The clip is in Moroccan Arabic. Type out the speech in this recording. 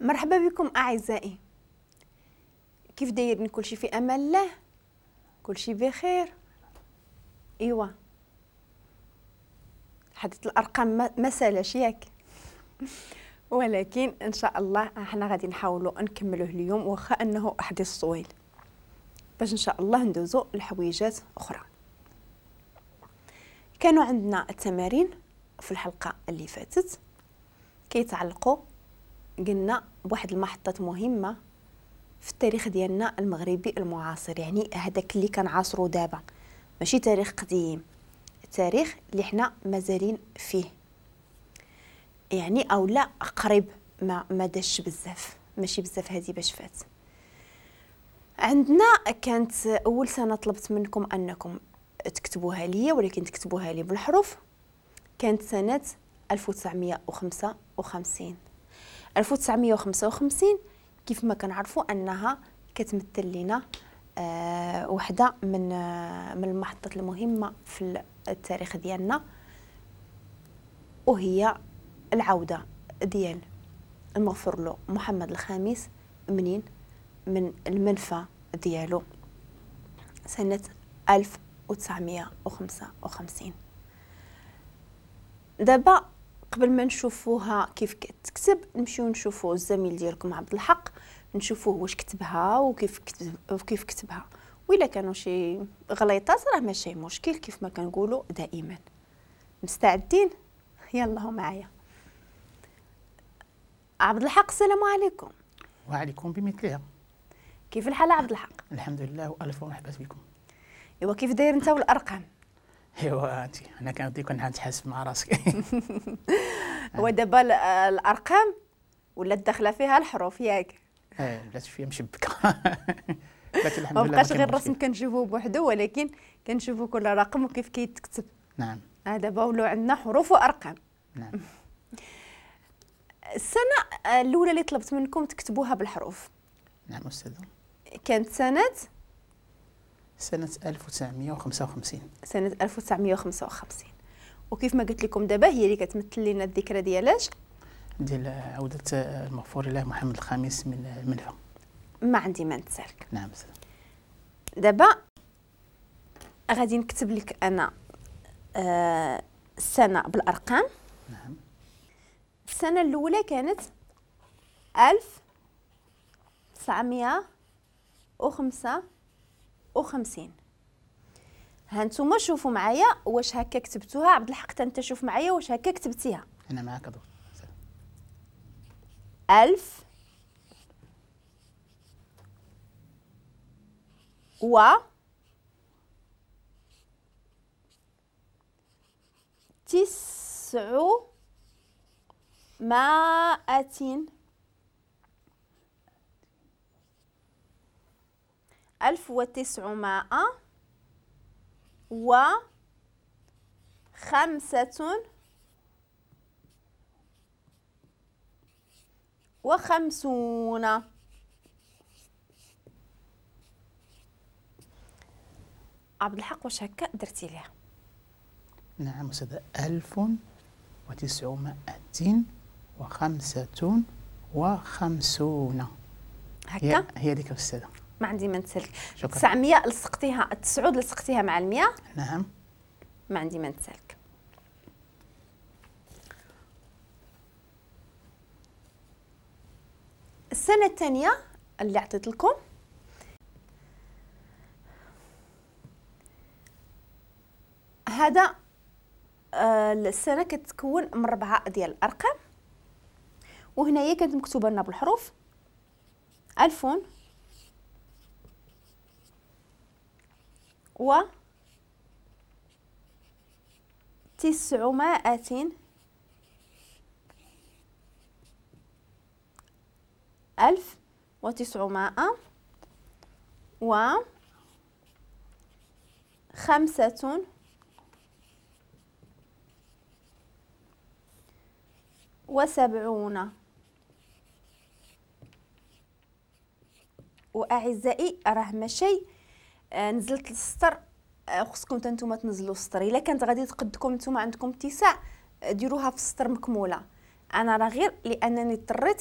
مرحبا بكم اعزائي. كيف دايرين؟ كلشي في امان الله، كلشي بخير. ايوا حديث الارقام ما سالاش ياك، ولكن ان شاء الله احنا غادي نحاولوا نكملوه اليوم، واخا انه حديث طويل، باش ان شاء الله ندوزو لحويجات اخرى. كانوا عندنا التمارين في الحلقة اللي فاتت كيتعلقوا قلنا بواحد المحطات مهمة في التاريخ ديالنا المغربي المعاصر، يعني هذاك اللي كنعاصرو دابا، ماشي تاريخ قديم، التاريخ اللي حنا مازالين فيه، يعني او لا قريب، ما داش بزاف، ماشي بزاف هذه باش فات. عندنا كانت اول سنة طلبت منكم انكم تكتبوها لي، ولكن تكتبوها لي بالحروف، كانت سنة 1955. 1955 كيف ما كنعرفوا انها كتمثل لنا وحده من المحطات المهمة في التاريخ ديالنا، وهي العودة ديال المغفور له محمد الخامس منين؟ من المنفى ديالو سنة 1955. دابا قبل ما نشوفوها كيف كتكتب نمشيو نشوفو الزميل ديالكم عبد الحق، نشوفوه واش كتبها وكيف كتبها، وإلا كانوا شي غليطات راه ماشي مشكل كيف ما كنقولوا دائما. مستعدين؟ يلا معايا عبد الحق. السلام عليكم. وعليكم بمثلها. كيف الحال عبد الحق؟ الحمد لله والف مرحبا بكم. ايوا كيف داير انت والارقام؟ ايوا انت انا كنعطيك كنتحاسب مع راسك. هو دابا الارقام ولات داخله فيها الحروف ياك؟ ولات شوية مشبكه. لكن الحمد لله ما بقاش غير الرسم كنشوفوه بوحدو، ولكن كنشوفوا كل رقم وكيف كيتكتب. نعم. دابا ولاو عندنا حروف وارقام. نعم. السنة الاولى اللي طلبت منكم تكتبوها بالحروف. نعم استاذه. كانت سنة 1955. سنة 1955، وكيف ما قلت لكم دابا هي اللي كتمثل لنا الذكرى ديالاش؟ ديال عودة المغفور له محمد الخامس من المنفى. ما عندي ما نتسالك. نعم استاذ. دابا غادي نكتب لك انا السنة بالارقام. نعم. السنة الأولى كانت 1955. ها نتوما شوفوا معايا واش هكا كتبتوها. عبد الحق انت شوف معايا واش هكا كتبتيها. انا معاك دكتور. 1000 و 900 1955. عبد الحق واش هكا درتي ليها؟ نعم أستاذة. 1955 هكا هي ديك أستاذة. ما عندي ما نتسالك. 900 لصقتيها، 9 لصقتيها مع 100. نعم. ما عندي ما نتسالك. السنة الثانية اللي عطيت لكم هذا السنة كتكون من 4 ديال الأرقام، وهنايا كانت مكتوبة لنا بالحروف 1000 و 900 1900 و 75. وأعزائي راه ماشي نزلت للسطر، خصكم حتى نتوما تنزلوا السطر. الا كانت غادي تقدكم نتوما عندكم اتساع ديروها في السطر مكموله. انا راه غير لانني اضطريت